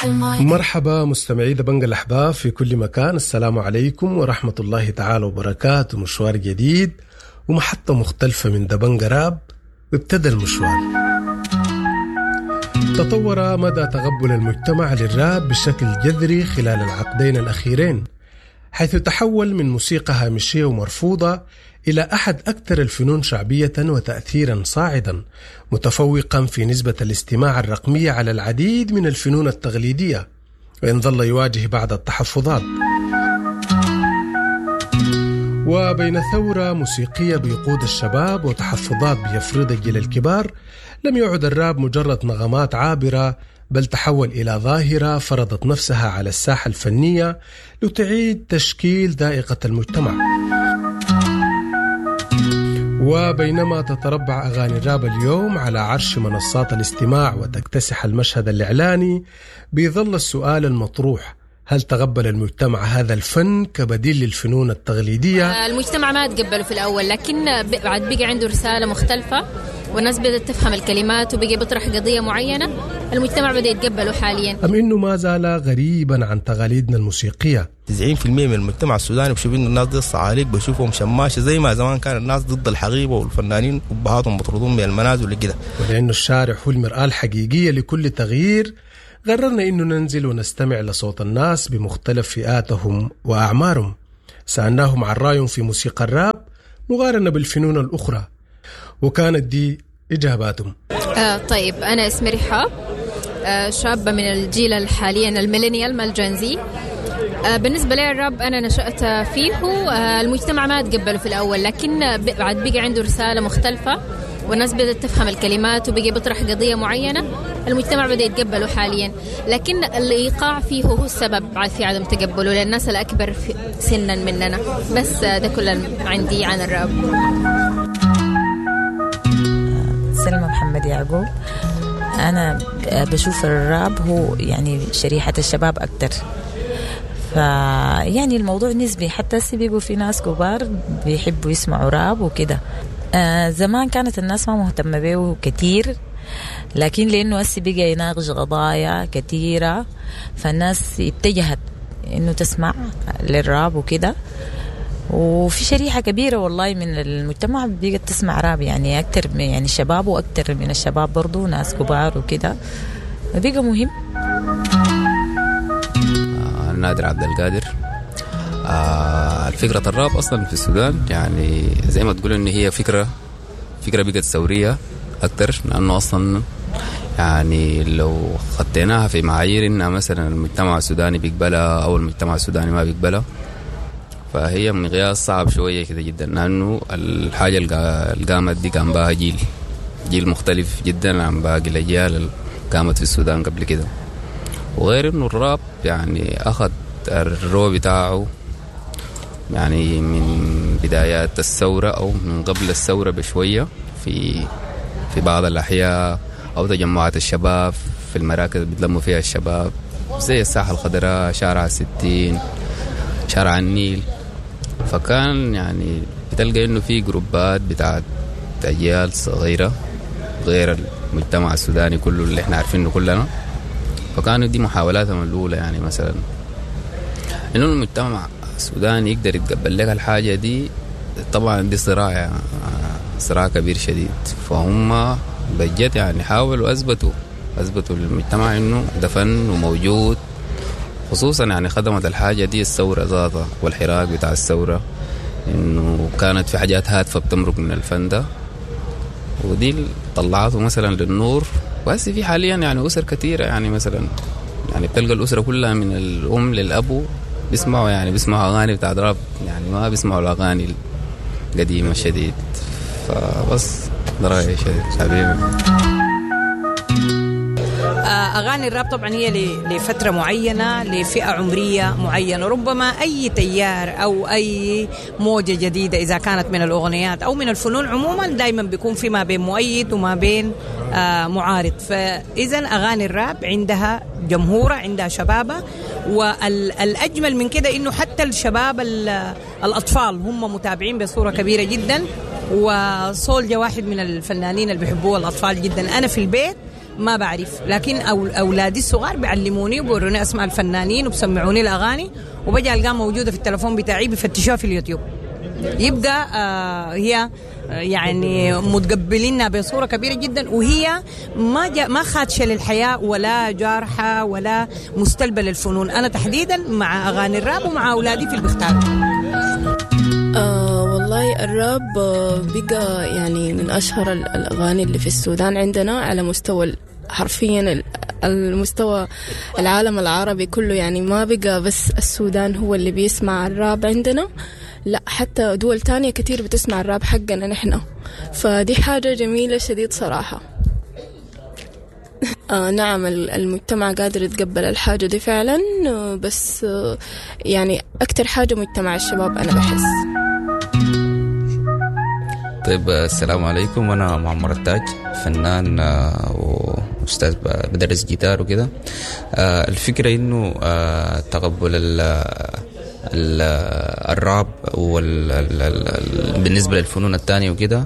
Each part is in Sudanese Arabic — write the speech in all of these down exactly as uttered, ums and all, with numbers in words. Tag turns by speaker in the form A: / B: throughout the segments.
A: مرحبا مستمعي دبنجة الأحباب في كل مكان، السلام عليكم ورحمة الله تعالى وبركاته. مشوار جديد ومحطة مختلفة من دبنجة راب، وابتدى المشوار. تطور مدى تقبل المجتمع للراب بشكل جذري خلال العقدين الأخيرين، حيث تحول من موسيقى هامشية ومرفوضة إلى أحد أكثر الفنون شعبية وتأثيرا صاعدا، متفوقا في نسبة الاستماع الرقمية على العديد من الفنون التقليدية، وإن ظل يواجه بعض التحفظات. وبين ثورة موسيقية بيقود الشباب وتحفظات بيفرض الجيل الكبار، لم يعد الراب مجرد نغمات عابرة، بل تحول إلى ظاهرة فرضت نفسها على الساحة الفنية لتعيد تشكيل ذائقة المجتمع. وبينما تتربع أغاني الراب اليوم على عرش منصات الاستماع وتكتسح المشهد الإعلاني، بيظل السؤال المطروح: هل تقبل المجتمع هذا الفن كبديل للفنون التقليدية؟
B: المجتمع ما تقبله في الأول، لكن بعد بقى عنده رسالة مختلفة والناس بدأت تفهم الكلمات وبقى بيطرح قضية معينة، المجتمع بدأ يتقبله حاليا.
A: أم إنه ما زال غريبا عن تقاليدنا الموسيقية؟
C: تسعين في المية من المجتمع السوداني بشوف إنه الناس دي الصعاليك، بشوفهم شماشة زي ما زمان كان الناس ضد الحقيبة والفنانين وبهاتهم مطرودون من المنازل وكده.
A: ولأنه الشارع هو المرآة الحقيقية لكل تغيير، قررنا إنه ننزل ونستمع لصوت الناس بمختلف فئاتهم وأعمارهم. سألناهم عن رأيهم في موسيقى الراب مقارنة بالفنون الأخرى، وكانت دي إجاباتهم.
B: آه طيب، أنا اسمي رحاب، آه شابة من الجيل حاليا ال millennial ما ال Gen Z. آه بالنسبة لي الراب أنا نشأت فيه، آه المجتمع ما تقبله في الأول، لكن بعد بقى عنده رسالة مختلفة والناس بدأت تفهم الكلمات وبقى بيطرح قضية معينة، المجتمع بدأ يتقبله حاليا. لكن الإيقاع فيه هو السبب في عدم تقبله للناس الأكبر سنا مننا. بس ده كل عندي عن الراب.
D: سلمى محمد يعقوب. أنا بشوف الراب هو يعني شريحة الشباب أكتر، فيعني الموضوع نسبي، حتى بيقوا في ناس كبار بيحبوا يسمعوا راب وكده. آه زمان كانت الناس ما مهتمة به كتير، لكن لأنه هسي بقى يناقش قضايا كتيرة، فالناس اتجهت إنه تسمع للراب وكده. وفي شريحة كبيرة والله من المجتمع بقت تسمع راب، يعني أكتر من يعني الشباب، وأكتر من الشباب برضو ناس كبار وكده، بقى مهم.
E: آه نادر عبد القادر. آه الفكرة الراب أصلا في السودان يعني زي ما تقول إن هي فكرة فكرة بقت ثورية أكتر، لأنه أصلا يعني لو خطيناها في معايير إنها مثلا المجتمع السوداني بيقبلها أو المجتمع السوداني ما بيقبلها، فهي مقياس صعب شوية كده جدا، لأنه الحاجة اللي قامت دي كان بها جيل جيل مختلف جدا عن باقي الأجيال اللي قامت في السودان قبل كده. وغير إنه الراب يعني أخذ الرو بتاعه يعني من بدايات الثورة أو من قبل الثورة بشوية في في بعض الأحياء أو تجمعات الشباب في المراكز بيتلموا فيها الشباب زي الساحة الخضراء، شارع الستين، شارع النيل. فكان يعني بتلقى إنه في جروبات بتاعت أجيال صغيرة غير المجتمع السوداني كله اللي احنا عارفينه كلنا، فكانوا دي محاولاتهم الأولى، يعني مثلا إنه المجتمع السوداني يقدر يتقبل لك الحاجة دي. طبعا دي صراع يعني صراع كبير شديد، فهم بجد يعني حاولوا أثبتوا أثبتوا للمجتمع إنه ده فن وموجود، خصوصا يعني خدمت الحاجة دي الثورة ذاتها والحراك بتاع الثورة، إنه كانت في حاجات هادفة بتمرق من الفن ده، ودي طلعته مثلا للنور. بس في حاليا يعني أسر كثيرة، يعني مثلا يعني بتلقى الأسرة كلها من الأم للأبو بيسمعوا يعني بيسمعوا أغاني بتاع راب، يعني ما بيسمعوا الأغاني القديمة شديد. فبس ده رأيي شديد حبيبي.
F: أغاني الراب طبعا هي لفترة معينة، لفئة عمرية معينة، ربما أي تيار أو أي موجة جديدة إذا كانت من الأغنيات أو من الفنون عموما دايما بيكون في ما بين مؤيد وما بين معارض. فإذا أغاني الراب عندها جمهورة، عندها شبابة، والأجمل من كده إنه حتى الشباب الأطفال هم متابعين بصورة كبيرة جدا. وسولجا واحد من الفنانين اللي بيحبوه الأطفال جدا. أنا في البيت ما بعرف، لكن أولادي الصغار بيعلموني وبوروني أسماء الفنانين وبسمعوني الأغاني، وبجي ألقاها موجودة في التلفون بتاعي بفتشوها في اليوتيوب. يبقى آه هي يعني متقبلينها بصورة كبيرة جدا، وهي ما ما خادشة للحياة ولا جارحة ولا مستلبة للفنون. أنا تحديدا مع أغاني الراب ومع أولادي في البختار.
G: آه والله الراب بقى يعني من أشهر الأغاني اللي في السودان عندنا على مستوى حرفيا المستوى العالم العربي كله، يعني ما بقى بس السودان هو اللي بيسمع الراب عندنا، لا حتى دول تانية كتير بتسمع الراب حقنا نحن، فدي حاجة جميلة شديد صراحة. آه نعم المجتمع قادر يتقبل الحاجة دي فعلا، بس آه يعني أكتر حاجة مجتمع الشباب أنا بحس.
E: طيب السلام عليكم، أنا معمر التاج، فنان وأستاذ بدرس جيتار وكده. الفكرة إنه تقبل الراب وال بالنسبة للفنون الثانية وكده،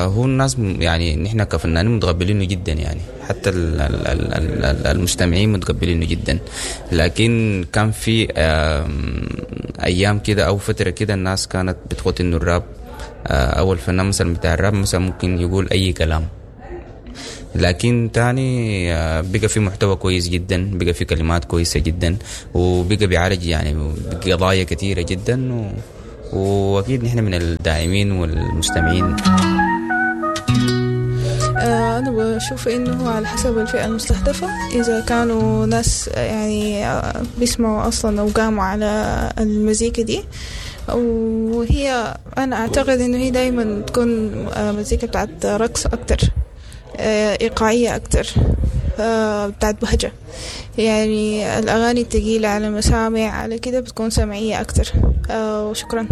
E: هو الناس يعني نحن كفنانين متقبلينه جدا، يعني حتى المستمعين متقبلينه جدا. لكن كان في أيام كده أو فترة كده الناس كانت بتخوت إنه الراب أو الفنان مثلا بتاع الراب مثلا ممكن يقول أي كلام، لكن تاني بقى في محتوى كويس جدا، بقى في كلمات كويسة جدا، وبقى بيعالج يعني قضايا كثيرة جدا، و... وأكيد نحن من الداعمين والمستمعين.
H: أنا بشوف إنه على حسب الفئة المستهدفة، إذا كانوا ناس يعني بيسمعوا أصلا أو قاموا على المزيكا دي، وهي أنا أعتقد إنه هي دايما تكون مزيكا بتاعت رقص أكتر، إيقاعية أكتر، بتاعت بهجة، يعني الأغاني التقيلة على المسامع على كده بتكون سمعية أكتر. وشكرا.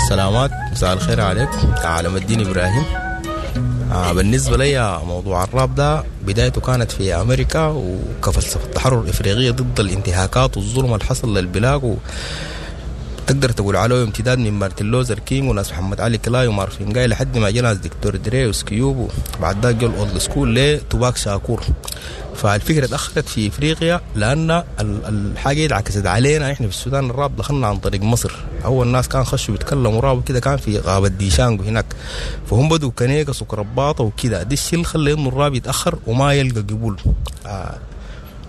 C: سلامات، مساء الخير عليك. عالم الدين إبراهيم. بالنسبة لي موضوع الراب ده بدايته كانت في أمريكا، وكفلسفة التحرر الإفريقية ضد الانتهاكات والظلم اللي حصل للبلاد، و تقدر تقول عليه امتداد من مارتن لوثر كينج وناس محمد علي كلاي ومارفين جاي لحد ما جا ناس دكتور دري وسكيوب، وبعد ذاك جو ال old school لتوباك شاكور. فالفكرة اتاخرت في افريقيا لان الحاجة انعكست علينا احنا في السودان. الراب دخلنا عن طريق مصر، اول ناس كان خشوا بيتكلموا راب وكده كان في غابه ديشانجو هناك، فهم بدوا كنيكس وكرباطه وكده. دي الشيء اللي خلى انه الراب يتاخر وما يلقى قبول. آه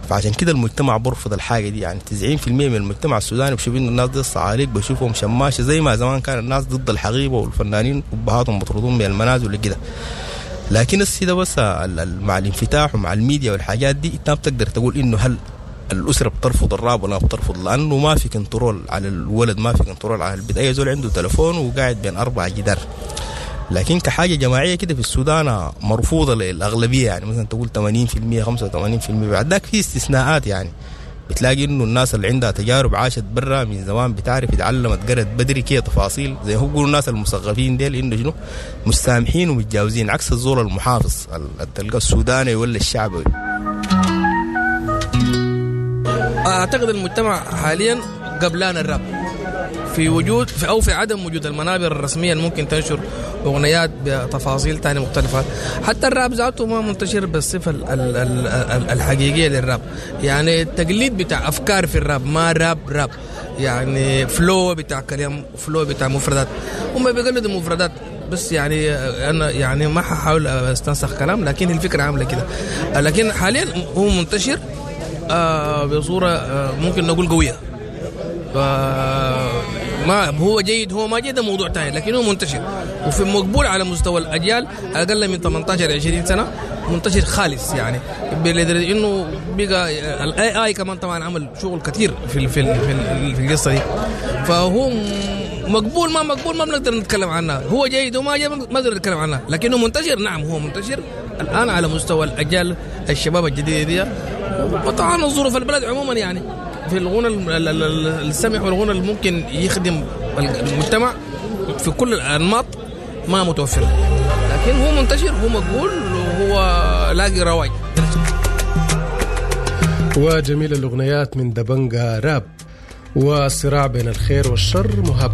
C: فعشان كده المجتمع برفض الحاجة دي. يعني تسعين في المية من المجتمع السوداني بشوف انه الناس دي الصعاليك بشوفهم شماشه، زي ما زمان كان الناس ضد الحقيبة والفنانين ابهاتهم مطرودون من المنازل وكده. لكن السي ده بس مع الانفتاح ومع الميديا والحاجات دي انت ما بتقدر تقول انه هل الاسرة بترفض الراب ولا بترفض، لانه ما في control على الولد، ما في control على البيت، اي زول عنده تلفون وقاعد بين اربع جدار. لكن كحاجة جماعية كده في السودان مرفوضة للاغلبيه، يعني مثلا تقول ثمانين في المية خمسة وثمانين في المية. بعد ذاك في استثناءات، يعني بتلاقي انه الناس اللي عندها تجارب عاشت برا من زمان، بتعرف اتعلمت قرت بدري كده تفاصيل، زي هو بيقولوا الناس المثقفين ديل انه شنو مستامحين ومتجاوزين، عكس الزول المحافظ تلقى السوداني ولا الشعبي.
I: اعتقد المجتمع حاليا قبلان الراب في وجود في او في عدم وجود المنابر الرسمية اللي ممكن تنشر اغنيات بتفاصيل تانية مختلفة. حتى الراب ذاته ما منتشر بالصفة الحقيقية للراب، يعني التقليد بتاع افكار في الراب ما راب راب، يعني flow بتاع كلام، flow بتاع مفردات، هم بيقلدوا مفردات بس. يعني انا يعني ما ححاول استنسخ كلام، لكن الفكرة عامله كده. لكن حاليا هو منتشر بصورة ممكن نقول قوية. ما هو جيد هو ما جيد ده موضوع ثاني، لكن هو منتشر وفي مقبول على مستوى الاجيال اقل من ثمانية عشر عشرين سنة، منتشر خالص. يعني لدرجة انه بقى ال AI كمان طبعا عمل شغل كثير في في في, في القصة دي. فهو مقبول ما مقبول ما بنقدر نتكلم عنها، هو جيد وما جيد ما بنقدر نتكلم عنها، لكنه منتشر. نعم هو منتشر الان على مستوى الاجيال الشباب الجديدة دي، وطبعا ظروف البلد عموما، يعني في الغنى السمح والغنى اللي ممكن يخدم المجتمع في كل الانماط ما متوفر، لكن هو منتشر، هو مقبول، وهو لاقي رواج.
A: وجميل الأغنيات من دبنجا راب والصراع بين الخير والشر مهاب.